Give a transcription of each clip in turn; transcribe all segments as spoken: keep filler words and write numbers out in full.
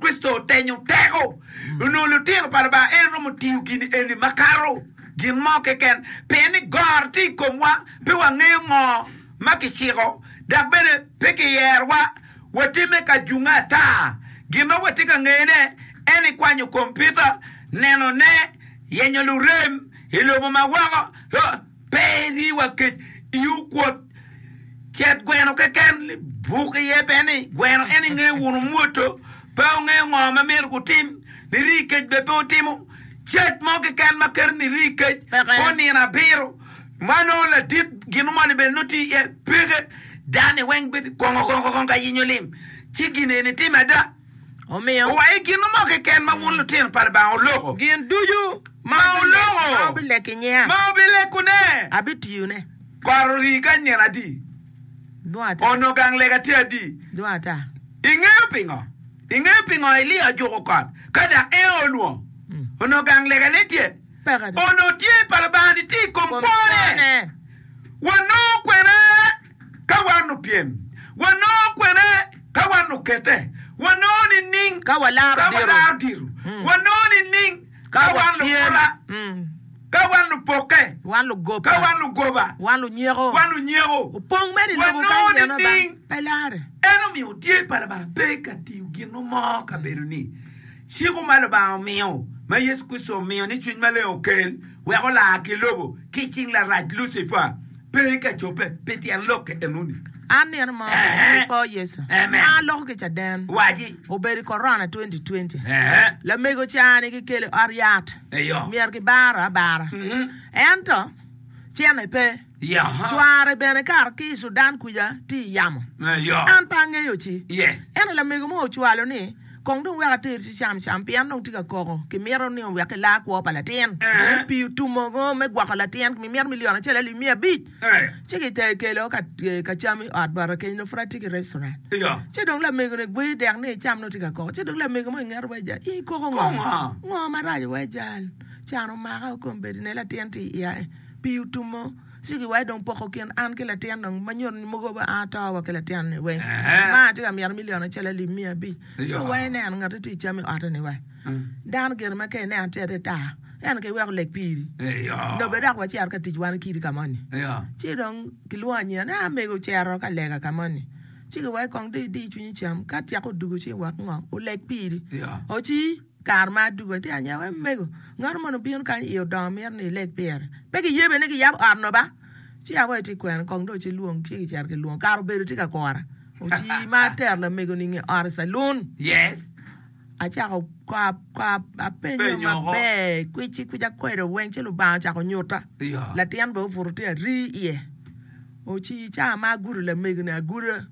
Kricito otenyo teko onongo lutino pa Lubanga en romo tiyo gin eni makato gin mo keken pien ni goro tye i komwa pe wangeyo ngo ma kiciko dok bene pe kiyerowa watime ka junge ata gin ma watye ka ngeyone en ikwanyo kompiuta nenone yenyo lurem i lobo ma woko pe riwa kec iwu kwot cet gweno keken buk iye pe ni gweno en ingeyo wunu mwoto pe ongeyo ngo ma myero gutim niri kec be pe otimo cec mo keken ma keto niri kec Peke. onino abiro ma nongo ladit gin moni bene nongo tye iye peke dani weng bedo kongo kongo kongo ka yenyo lim ci gin eni timo ada Omiyo owaco gin mo keken ma wun lutino pa Lubanga oloko gin ducu ma oloko ma obileko i nyinga ma obilekone abitiyone kot ori ka nino adi dwong ata ono gang lega tye adi dwong ata ingeyo pingo ingeyo pingo Elia ojuko kot ka dok en olwongo ono gang lega ne tye Peke do. ono tye pa Lubanga ni tye i kom Kom kwone kwone. wanongo kwene ka wan opyem wanongo kwene ka wan okete wanongo nining Ka walaro ka diro. walaro diro wanongo nining ka wan wapyem. lukura Mm. ka wan lupoke wan lugoba ka wan lugoba wan lunyeko wan lunyeko opong mere i lobo Wanongo kany jeno ba nining? pe lare en omiyo tye pa Lubanga pe ka tiyo gin mo kabedo ni ciko ma Lubanga omiyo ma Yecu Kricito omiyo ni cwiny maleng okel wek olar ki lobo ki cing larac Lucifer pe ka cope pi tyen lokke enoni an nino mo Eh. before Yecu Amen. an loko ki caden waci obedo i corona twenty twenty Eh. lamego cani kikelo i ot yat Eyo. myero kibaro abara Mhm. ento cene pe Ya. cware bene kar ki i Sudan kuca tye i yamo Eyo. an pe angeyo ci Yes. ento lamego mo ocwalo ni kong dong wek ater ci cam cam pien dong tye ka koko kimito ni wek kilar kwo pa latin Eh. pii otumo go me gwoko latin mimito milion acel alip mia abic Eh. ci kite kelo ka, ka cam i ot bote keny no pud atye ki restaurant Eyo. ci dong lamego ni gwe dek ni icam no tye ka koko ci dong lamego mo i ngete wa jal in koko ngo Koko ngo? ngo marac wa jal can omaka kombeddi ne latin tye i iya pii otumo ci giwaco dong poko kin an ki latin dong ma nyuto ni mogo ba an ato wa ki latin ni weng Eh. ma atye ka mito milion acel alip mia abic ci Eyo. wa ineno ngati tye i cam i ote ni wa dano gire ma ka ineno tye ata ento kiweko lek piri Eyo. lobe dok wacito ka tic wan kidi ka moni Eyo. ci dong kilwongo anyira ni amego ocito ka lega ka moni ci giwaco kong dong idi cwinyi cam ka tyeko odugo ci wek ngo olek piri Eyo. oci kare ma adugo tye anyira wa mego ngano moni obino kany iye odongo mito ni ilek pire pe kiyebe ni kiyabo ot no ba ci awaco tye kwene kong dong ci lwong ci kicito kilwongo kare obedo tye ka kora oci ma atero lamego ni nge ot i calun Yes. acako ka ka apenyo Penyo oko. maber kwici kwica kwedo weng ci Lubanga ocako nyuta Eyo. latin bene obuto tye ari iye oci ca ma agudo lamego ni aguda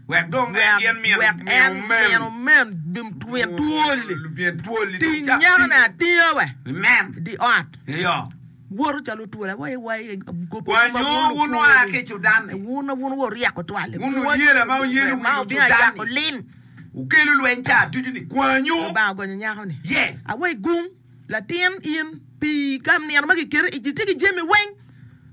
Wek dong en gin min wek min en omen. min omen min twol Min twol. ting nyako ni atinga we Men. di ot Eyo. woto calo twol awai wai gopo Wanyo wun oa ki Sudan. wun wun wo ryeko twal Wun oyelo ma oyelo ma wi obino Sudan. ayako lim Ukelo lweny ca ducu ni kwanyu. Lubanga ogonyo nyako ni Yes. awai gung latin in pii ka nino ma kiketo ic itye ki jami weng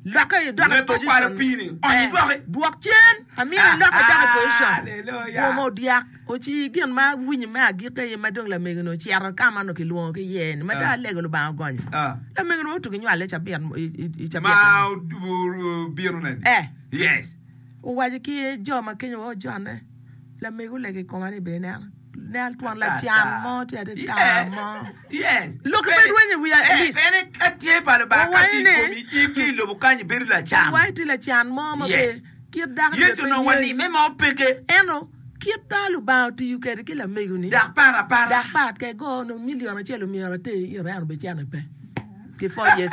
lokke idok i Ngeto position. kwalo pii-ni, ony Eh, idwoki. dwok cen amito ilokke idok i position Hallelujah. Kom odyak oci gin ma winyo me agikki aye ma dong lamego-ni ocito ka ma onongo kilwongo ki iye ni ma dong Ah. alego Lubanga ogonyo Ah. lamego-ni otugo nywale cabit i- i cabit Ma obino neni. Eh. Yes. owaco ki jo ma kenyo wa ojonne lamego olego i koma ni bene neno nel twon lacan mo tye adita Yes. mo Yes. Lok pe rwenyo i wiya, Eh, Elise. Bene ka tye pa Lubanga ka tye i Owaco ni- komi in ki i lobo kany ibedo lacan. waci tye lacan mo ma Yes. be kit dako Yecu onongo walime ma opeke. ento kit ta Lubanga otiyo kwede ki lamego-ni Dak pat apata. dak pat ke go no milion acel omyero ater ire en obecene pe ki fo Yecu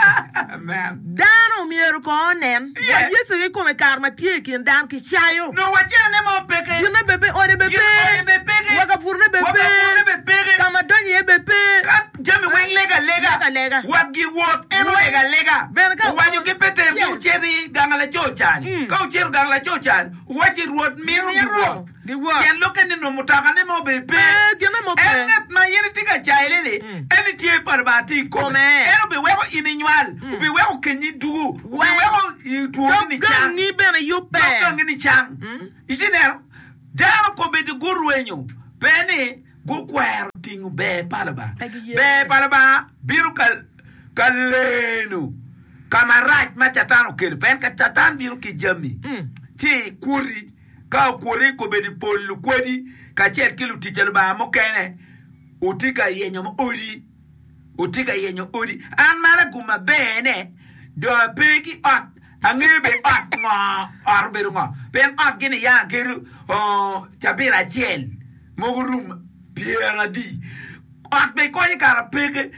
Amen. dano omyero ko onen Yes. wa Yecu kikome kare ma tye i kin dano kicayo No wacene ma opeke. ginne be pe ode be Gin ode be pe peke. wa ka purne be Wa ka purne be pe peke. ka ma donyo iye be pe Ka jami weng lega lega. Lega lega. Wat gi wot en olega lega. Bene ka- Owaco ki Peter ki Yes. ocito i gang laco cani. Ka ocito gang laco cani, owaci Rwot mito Mito giwot. giwot. Tyen lokke ni nongo mutoka ne mo be pe. Pe, ginne mo pe. En ngat ma in itye ka caile-ni, en itye pa Lubanga tye i kome. Kome. En obiweko in inywal, obiweko kenyi dugu, obiweko i twoni ni dog cang. gangi bene yubbe Dog gangi ni cang. Ici neno, dano kobedo gurwenyo, pe ni Gukwero tingo ber pa Lubanga. Pe giye. Ber pa Lubanga bino ka, ka leno ka marac ma Catan okelo. Pien ka Catan bino ki jami, ci kwoti. Ka okwoti, kobedo i pol lukwedi kacel ki lutic pa Lubanga mukene, wutye ka yenyo odi. Wutye ka yenyo odi. An man agum maber-ne, dong ape ki ot. Angeyo bene ot ngo, ot obedo ngo. Pien otgi ni ya agedo cabit acel, mogo rum pyeradi. Ot bene konyo kara peke.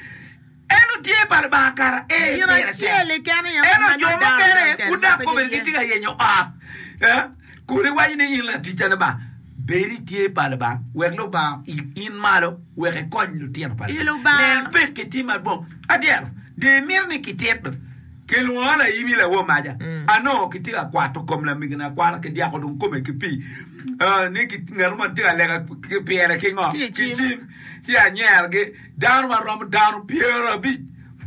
Ento tye pa Lubanga kara ee Gin pire tek. acel keken aye Ento ma jo nongo dano mukene kene pud ma dok pe kobedo giye. gitye ka yenyo ot. Eh, kun iwaco ni in latic pa Lubanga, bed i tye pa Lubanga wek Lubanga oil in malo wek ikony lutino pa I Lubanga. Lubanga. Nen pekki tye madwong. Adyero, dong imito ni kitit Kilwonga laibi lawor maca, anongo kitye ka kwato kom lamegina akwata ki dyako dong kome ki pii, ni ngat mo tye ka lega pire ki ngo? Ki Ki cim. cim. Ci anyerogi, dano ma romo dano pyerabic.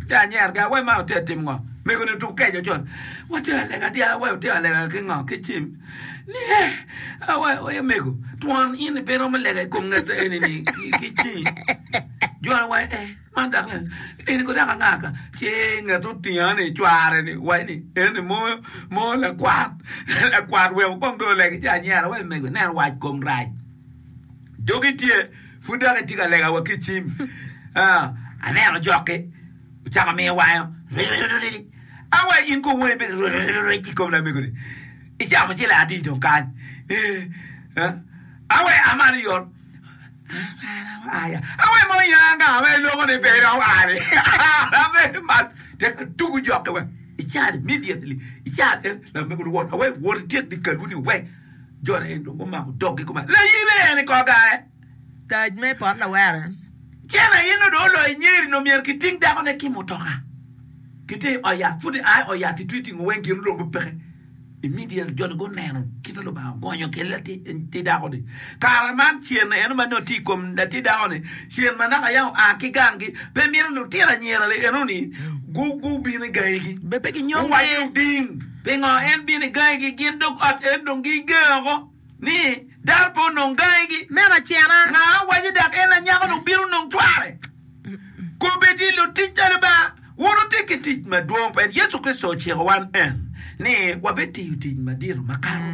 Ci anyerogi, awe man wutye ka timo ngo? Mego-ni otuk keco con, watye ka lega dya, awe wutye ka lega ki ngo? Ki cim. Ni eh, awe oye mego, twon in-ni pe iromo lega i kom ngat eni-ni ki cingi. Jo-ni waco eh. Man dok ni, Eni ko dok anga ka? Ci ngat otinga ni cware ni waco ni, Eni mo, mo lakwat, lakwat weko kong dong olegi ci anyera wa mego ineno wac kom rac. Dogi tye, pud dok itye ka lega wa ki cim. Ah, aneno jokki ocako miyo wango, riririririri. Awa in ko woni bene riririririri i kom lamego ni. Icamo ciling adi dong kany? Eh, eh. Awa a malo yot. Awe mo ya nga ma iloko ni pe iromo ari. Awe mal tek tugu jokke we. Ical immediately. Ical en lamego luwot awe wot ityek di kalwu ni we. Jone en dong gumako doggi kuma. Layibe en i kor gae. Tac me pot lawere. Cen aye nongo dong oloyo nyeri nongo myero kiting dakone ki mutoka. Kite i ot yat pud i a i ot yat itwi tingo weng gin dong peke. Immediately jo-ni guneno kit ma Lubanga ogonyo kwede latin dako-ni. Kare man cen eno ma nongo tye i kom latin dako-ni, cen ma naka yam oa ki ganggi, pe mito lutino anyira-ni eno-ni gubin i gangigi. Be pe ginyomgi. Guwaco ding, pingo en bino i gangigi? Gin dog ot en dong gigengo oko ni dano pe onong gangigi. Meno acena. Nga waco dok en anyako-ni obino onong cware? Kombeddi lutic pa Lubanga, wun wutye ki tic madwong pien Yecu Kricito ociko wan en ni wabitiyo tic madito makato.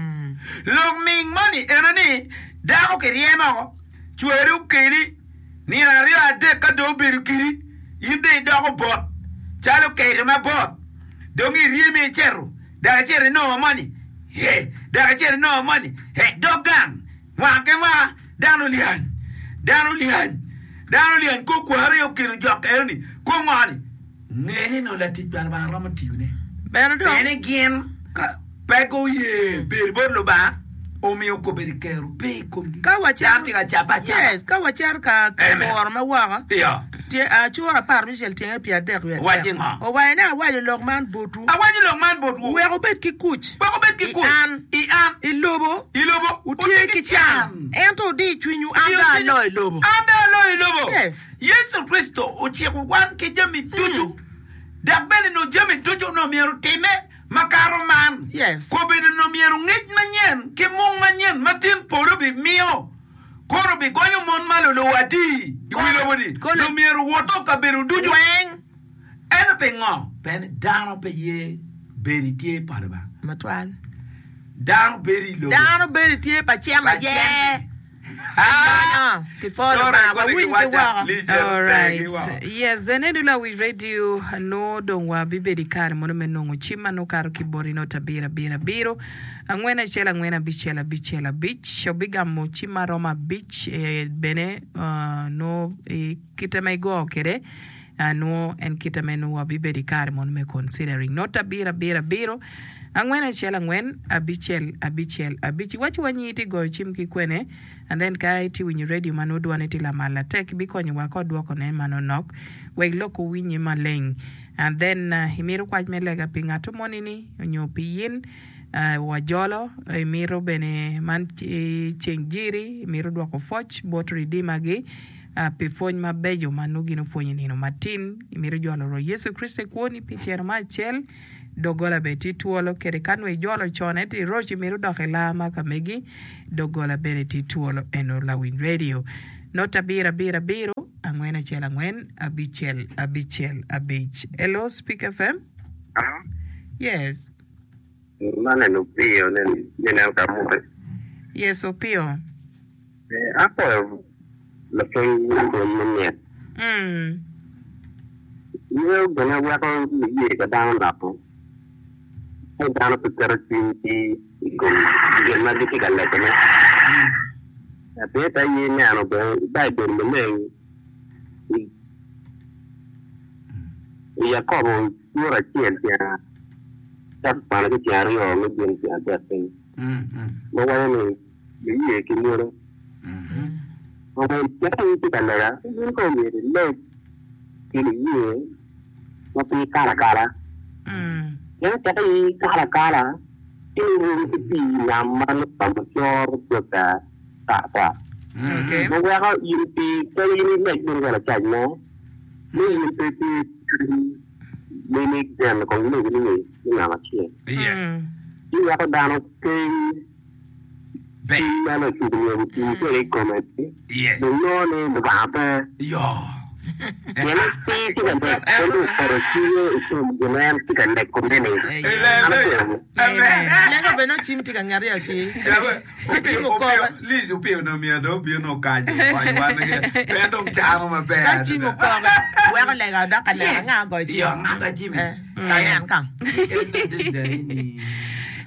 Lok ming moni ene ni, dako kiryemo oko, cwari okeli, nino aryo adek ka dong obedo kidi, in dong idoko bot calo kedo mabot, dong iryemi icito, dok icito inongo moni, he, dok icito inongo moni, he, dog gang. Mwaka ki mwaka, dano lyany, dano lyany, dano lyany kor kwaro aye okelo jok eno ni, kor ngo ni? Nge ni nongo latic pa Lubanga romo tiyone. Bene dong. Pien ni gin pe guye bedo bot Lubanga, omiyo kobedo kero pe i komgi. Ka wacito, Dano tye ka cabbe acaba. yes, ka wacito ka ka Amen. kuro ma woko, Iyo. tye acura apar abicel tyenge pyeradek wiye Waci adek. ngo? Owaco ni, Awaco lok man botwu. Awaco lok man botwu. Wek wubed ki kuc. Wek wubed ki I kuc. an. I an. I lobo. I lobo. Wutye ki can. Ento wudi cwinywu, an dong aloyo lobo. An dong aloyo lobo. Yes. Yecu Kricito ociko wan ki jami ducu, dok bene nongo jami ducu onongo myero otimme makato man. Yes. Kobedo onongo myero ngec manyen ki mung manyen ma tin polo bimiyo, kono bigonyo mon ma luluwo adi i wi lobo-ni, Kolo- onongo myero owoto kabedo ducu. Weng. Ento pingo? Pien ni dano pe ye bedo i tye pa Lubanga. Matwal. Dano bedo i lobo. Dano bedo i tye pa cen aye. Ah! Ki pwo Lubanga, wawiny ki woko. Alright. Yes, en eno lawi radio nongo dong wa bibedo i kare mono me nongo cim ma nongo kato ki boti not abiro abiro abiro angwen acel angwen abicel abicel abic obigamo cim ma romo abic eh, bene uh, nongo i kite ma igo kwede Nwo en kite me nwo wabibedo i kare mono me considering. Not abiro abiro abiro angwen acel angwen abicel abicel abic. Iwaci wa nyi iti goyo cim ki kwene and then ka iti winyo radio ma nwo dwane ti lamal latek bikonyo wa ka odwoko ne manonok wek lok owinye maleng and then imito kwac me lega pi ngato moni ni onyo pi yin wajolo imito bene man ceng jiri imito dwoko pwoc bot Redeemer gi Pi pwony mabeco ma nongo gin opwonyo i nino matin, imito jolo Rwot Yecu Kricito i kwoni pi tyeno me acel, doggola bene tye twolo. Kede ka nongo ijolo con ento iroco imito dok i lar ma ka megi, doggola bene tye twolo. Eno lawiny radio. Not abiro abiro abiro angwen acel angwen abicel abicel abic. Hello, Speak F M. Yes. Man en Opiyo nineno ka muke. Yes, Opiyo. Apoyo lapwony pwony me mit. Mm. Yweyo bene weko niye ka dano noko. Ka dano pe keto cwinygi i kom gin ma gitye ka legone. Pien ka in ineno bene i Baibul maleng i i Yakobo cura acel tyen cako kwano ki tyen aryo me gin tyen adek piny ma waco ni niye ki mwolo. Omiyo ka in itye ka lega, in kong myero ileg ki niye ma pe ikalo akala. Mm. Pien ka in ikalo akala, ci irom ki pii nam ma nongo coro cweka tar tar. Okay. Ma weko in pe ka in ileg bene ka lacac mo, ni in pe itye cwiny me ni geno kong legi ni me namba acel. Yeah. Mm. Ci weko dano keng Ber. cwiny ma lacuc myero oting kwede i kome Yes. dong nongo ni Lubanga pe. Yo. Pien pe tye ka lek, en dong oketo cwinye i kom gin ma en tye ka lekone-ni. An Hallelujah. apenyo. Amen. Lego bene ocim tye ka ngeti aci. Yawe, Ka cim Opiyo, okobe. opiyo, Liz opiyo no myero dong obino okaco okony wan pe en dong cano maber Ka cim adada. okobe, weko lega dok ka lega nga ogoyo cim. Yo, ngaka cim. Eh, ka en kang. Adada ni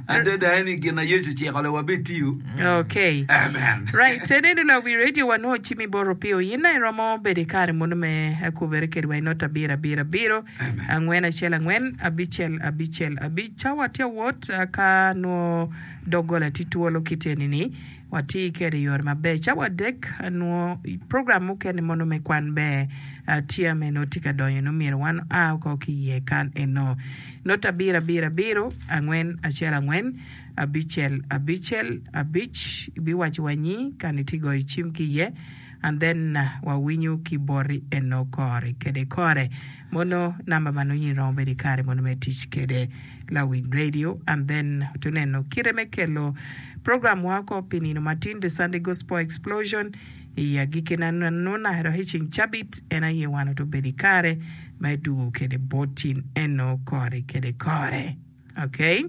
adada ni gin na Yecu ociko le wabitiyo. Okay. Amen. Right, eneno lawi radio wanwo cim bot Opiyo. In na iromo bedo i kare mono me kubere kedwa i not abiro abiro abiro Amen. angwen acel angwen abicel abicel abic. Cawa tye awot ah, ka nwo doggola tye twolo kit eni-ni watye kede i yore maber. Cawa adek nwo program mukene mono me kwan ber ah, tye meno tye ka donyo no myero wan a oko ki iye kan eno. Not abiro abiro abiro angwen acel angwen abicel abicel abic ibiwaco wanyi kan itye goyo cim ki iye and then uh, wawinyo ki boti eno kore kede kore mono namba ma nongo in iromo bedo i kare mono me tic kede lawiny radio and then tuneno kite me kelo program wa oko pi nino matin, The Sunday Gospel Explosion, i agikki na nuna dok i ceng cabit en aye wan otobedo i kare me dugo kede botin eno kore kede kore. Okay,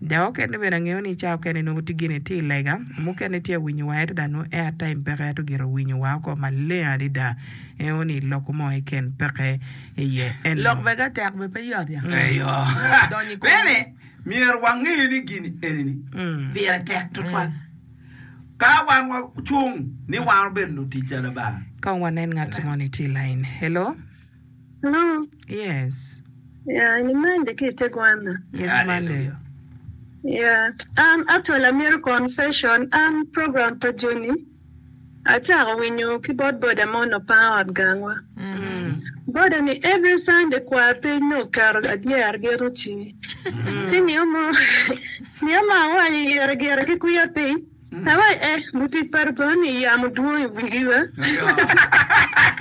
dok okene bene angeyo ni ca okene nongo tye gine tye i lega mukene tye awinyo wa ento dano airtime peke ento gire owinyo wa oko maleng adada eno ni loko mo keken peke iye eno. Lok bene tek be pe yot ya. Eyo. Donyo i kom. Bene myero wange ni gini enini pire tek tutwal. Ka wan wacung ni wan obedo lutic pa Lubanga. Kong wanen ngat mo ni tye i line. Hello. Hello. Yes. Yeah, ni Monday ki Tegwana. Yes, Monday. Hallelujah. Yeah. Um, actually, amiro confession. Um, program pa Johnny. Achako winyo ki bot boda mo no pa ot gangwa. Boda ni every Sunday kwar piny no keto adyer gero ci. Ci niyo mo niyo ma awaco ire gire ki kwiya piny. Awaco eh, lutic pa Lubanga ni yamo dwong i wigi wa. Yo.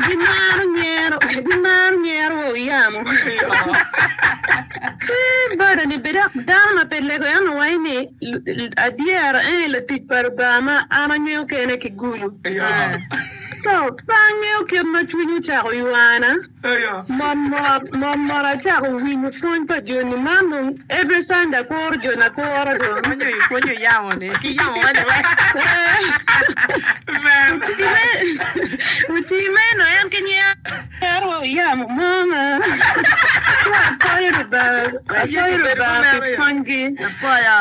Gimaro nyero, gimaro nyero wa oyamo. Yo. Ci boda ni be dok dano ma pe lego en owaco ni adyera en latic pa Lubanga ma an angeyo kene ki gulu. Yo. So pe angeyo kit ma cwiny ocako ywana. Yo. Mot mot mot mot acako winyo pwony pa Joni man dong every Sunday akuro Joni akura dong. Pwonyo pwonyo yamo ni. Ki yamo wene we. Amen. Otime no en ki nyero wa yamo mo ma. Apoyo Lubanga, apoyo Lubanga pi pwonygi. Apoyo.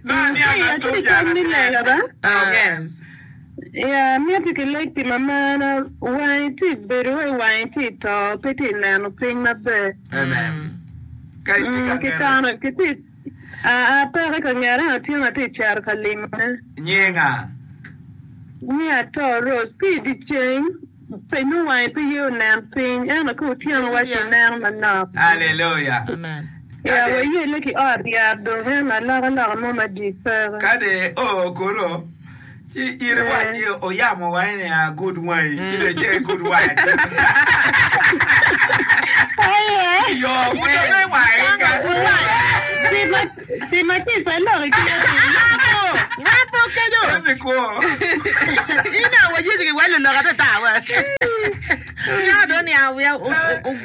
No, ni Hey, ana atye ki tuja kony ni lega ba. Yes. Ya, miti ki lek pi mamana, wangi tye bedo i wangi tye to, pe tye neno piny maber. Amen. Ka itye Mm, ka ki ngete. kano, ki tye a a peke ka ngete otieno atye cero ka limone. Nyinga. Ni ato Rose, pi di ceng, pe no wangi pe ye onen piny, ento ka otieno waci neno manok. Hallelujah. Amen. Ya, Kade wayele ki ot yat dong en alokaloka mo madit peke. kade o koro ci in iwac ni oyamo wa ni a good wine ci dong ce good wine. Aye. Yo, pud dong me wine ka. Pi ma pi ma tye pa lok i kine piny. Wan pe okeco. Eni kwo. Ina wa yecu ki welo lok ate ta wa. Ya do ni a wiya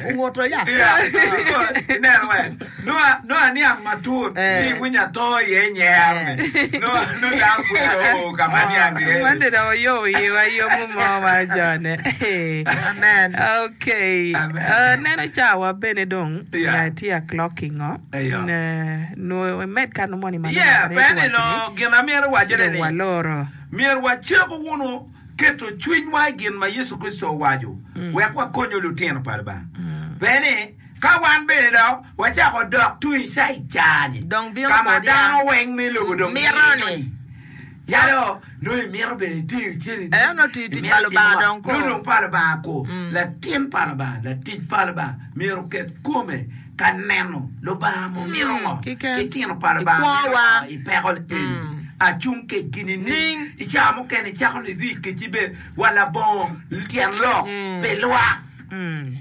ongoto ya. Yeah. Ineno we. No no aniang matut. Eh. Ci iwinyo ato iye nyer ni. No no dano pud oo ka ma niang iye. Man dong oyobo iwa yomo mo wa jone. Amen. Okay. Amen. Uh, neno cawa bene dong Yeah. uh, tye a clocking o. Eyo. Ne, no med kano moni ma Yeah, neno peni wacho no gin amyero ni, wacone dong ni waloro. myero waceko wunu keto cwinywa i gin ma Yecu Kricito owaco wek wakonyo lutino pa Lubanga. Peni ka wan bene dok wacako dok tung i cai-cani Dong bino ka ma kodi ya. dano weng me lobo dong Mito ngiyo ni. Calo nongo imito bene itiyo cene Eh, nongo tiyo tic pa Lubanga dong ko. Nongo dong pa Lubanga ko. Latin pa Lubanga, latic pa Lubanga myero oket kome ka neno Lubanga mo mito ngo. Kiken. Ki tino pa Lubanga I mito kwowa. ngo i peko eni. Acung kedgi nining. I cawa mukene icako ni idhi keci be wa labongo tyen lok pi lwak.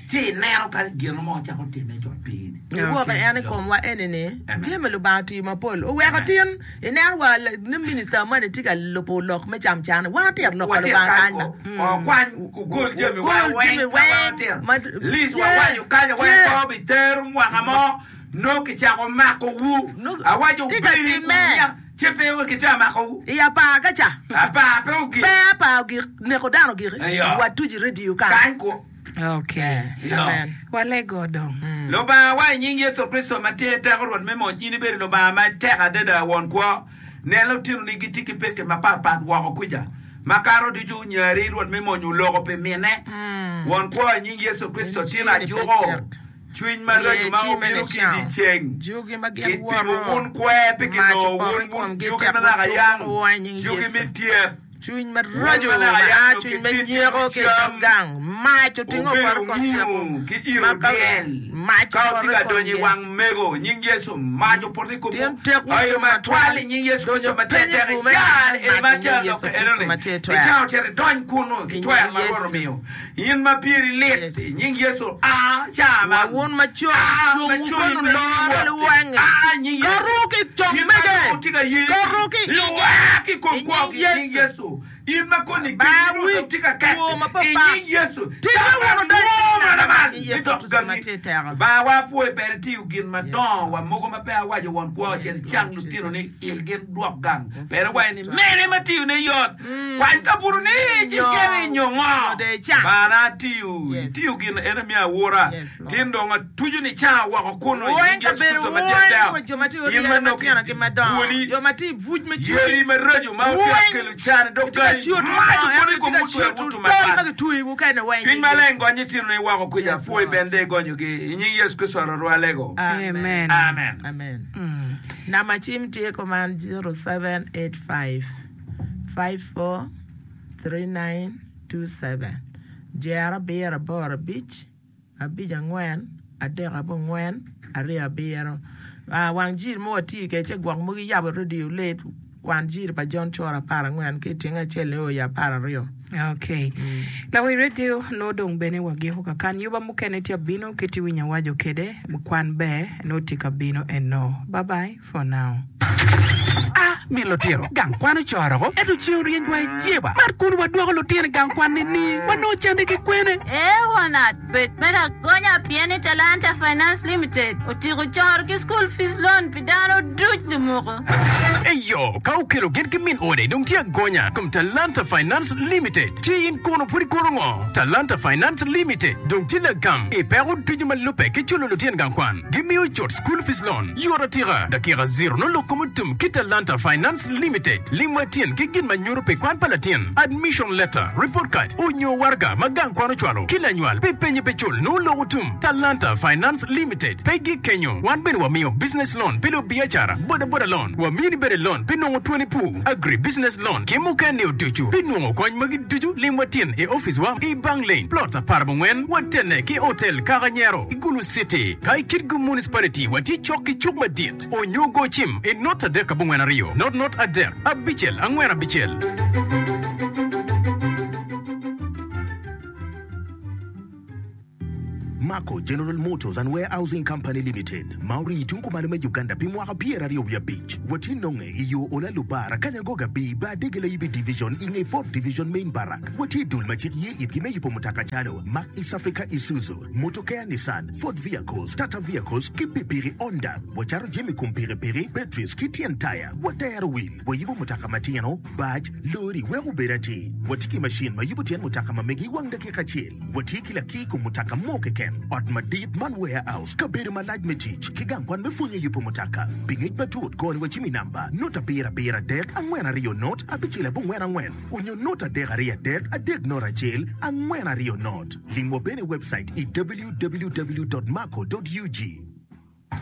Ci ineno ka gin mo cako time cut piny. Iwoko en i komwa eni ni Amen. jami Lubanga otiyo mapol oweko tin ineno wa la- ni minista moni tye ka lubo lok me camcan wan otyero lok pa Watir Lubanga kany kany ba ko okwany ogol jami wa Ogol weng jami ka wan weng otyero. ma- Lis Yeah. wawaco kany weng Yeah. ko bitero mwaka mo no kicako makowu No- awaco Tye ka obedi timme. kunya ci pe kitye makowu i apar ka ca apar pe ogik pe apar ogik neko dano ogik Eyo. watuci radio kany kany ko Okay. Yo. Amen. Walego dong. Lubanga wa i nying Yecu Kricito ma tye teko Rwot me mony in ibedo Lubanga ma tek adada won kwo nen lutinoni gitye ki peke mapatpat woko kuca makato ducu nyari Rwot me mony oloko pi mine won kwo i nying Yecu Kricito tin ajuko cwiny maraco ma Ye, obino ki cime i dyeceng Jugi ma gin kitimo woro. wun kwer pi Mac kinongo opoto wun i wun komgi jugi tek ma naka wutum yang wa i nying jugi Yecu. me tyep Cwiny Wun maraco ma ma naka a yang cwiny me kititi nyeko ki cam. dog gang mac otingo obedo opoto i kom ngiyo teko. ki iro Ma ka- dyel mac ka opoto otye i ka donyo i komgi. wang mego nying Yecu mac opoto i komwu Tyen tek ayo wutum matwal i nying Yecu Kricito ma tye Donyo tek piny i bur me icar eni ma mac i tye nying alok Yecu enoni Kricito ma tye twer. icar ocito idony kunu ki I twer nying ma Rwot Yecu. omiyo in ma pyeri lit Yes. i nying Yecu a ca ma Wa wun macon, A, cung macon wukonu pe loro iwot. liwange. A, nying Yecu. Karu ki cong In ma mege. nongo tye ka yeni Karu ki lwak i kom I kwo nying i nying Yecu. Yecu in ma koni Ba keni wic, tye ka ket two ma pe i pak. nying Yecu Tika wun odonyo Woo, mana man i Yecu Idok Kricito ma gangi. tye teko. Ba wa pwoyo pere tiyo gin madongo wa mogo ma pe awaco won kwo Yes, cel Lord cang lutino ni Jesus. il gin dwok gang pere waco ni mene ma tiyo ne yot kwany kabuto ni ci Nyo. cel inyo ngo Nyo de icam. bana atiyo Yes. itiyo gin ene mi awura Yes, Lord. tin dong atuco ni ca woko kuno i Weng nying Yecu kabedo Kricito ma tye weng teko. wa jo ma tye In oryere ma nongo matino ki madongo bwoli, jo ma tye i buc me cwiny yeri maraco ma otye Weng. kelo can i dog Tye ka gangi ciyo mac tutong, opoto i ento kom tye ka mutwer ciyo wutu tutong mapat ma gitweyo mukene weng i Cwiny nying maleng Yecu. gonyo tinoni woko kuca Yes, pwoy Lord. bende igonyogi i nying Yecu Kricito Rwotwa alego Amen. Amen. Amen. Namba cim tye kuman zero seven eight five five four three nine two seven jero abiro aboro abic abic angwen adek abongwen aryo abiro Ah, wang jiri mo watye kede ce gwok mogo iyabo radio late kwan jiri pa John Choro apar angwen ki ityeng acel nio i apar aryo Okay. Lawi radio no dong bene wagiko kakan yuba mukene tye abino kiti winyo awaco kede kwan ber no tye ka bino eno. Bye bye for now. A min lutino gang kwan ocoroko ento ceng ryeny wa ijeba mar kun wadwoko lutino i gang kwan ni wanongo cente ki kwene Ee wonat, bed me agonya pien ni Talanta Finance Limited otiko coro ki school fees loan pi dano duc lumuko. Eyo, ka okelo gin ki min ode dong tye agonya kom Talanta Finance Limited ci in kono pud ikuro ngo Talanta Finance Limited dong tye lagam i peko ducu ma lubbe ki culo lutino gang kwan gimiyo cut school fees loan yot atika dakika zero nongo lok kom otum ki Talanta Finance Limited limwa tyen ki gin ma nyuto pi kwan pa latin admission letter report card onyo warga ma gang kwan ocwalo ki lanywal pi penye pe cul nongo lok otum Talanta Finance Limited pe gi kenyo wan bene wamiyo business loan pi lubiacara boda boda loan wamini bene loan pi nongo tweni pur agri business loan ki mukene oducu pi nongo kony magi ducu limwa tyen i office wa i Bank Lane plot apar abongwen watene ki hotel Kakanyero i Gulu City ka i Kitgum Municipality watye cok ki cuk madit onyo go cim i not adek abongwen aryo not not adek abicel angwen abicel. Marco General Motors and Warehousing Company Limited, ma orii tung kumalo me Uganda pi mwaka pyeraryo wiye abic. Watye nonge i yo Ola Lubara, Kanyangoga B, Bar Dege Layibi Division i nge Fourth Division Main Barrack. Watye i dul ma cik ye itgi me yubo mutoka calo Mack East Africa Isuzu, Motokea Nissan, Ford Vehicles, Tata Vehicles ki pikipiki Honda. Wacato jami kom pikipiki, batteries ki tyen taya. Watero wil, wayubo mutoka matino, bac, lori wek obed atir. Watye ki macin ma yubo tyen mutoka ma megi i wang dakika acel. Watye ki lakir kom mutoka mo keken, ot madit man warehouse, kabedo malac me tic, ki gang kwan me pwonyo yubo mutoka. Pi ngec matut, goni wa cim i namba not abiro abiro adek angwen aryo not abicel abongwen angwen onyo not adek aryo adek adek not acel angwen aryo not. Lim wa bene i webcait i www dot marco dot ug.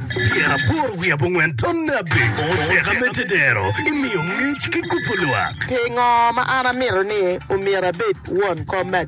Pyeraboro wiye abongwen tonne abic oteka me tedero imiyo ngec ki kubo lwak. Pingo ma an amito ni omyero abed won kom me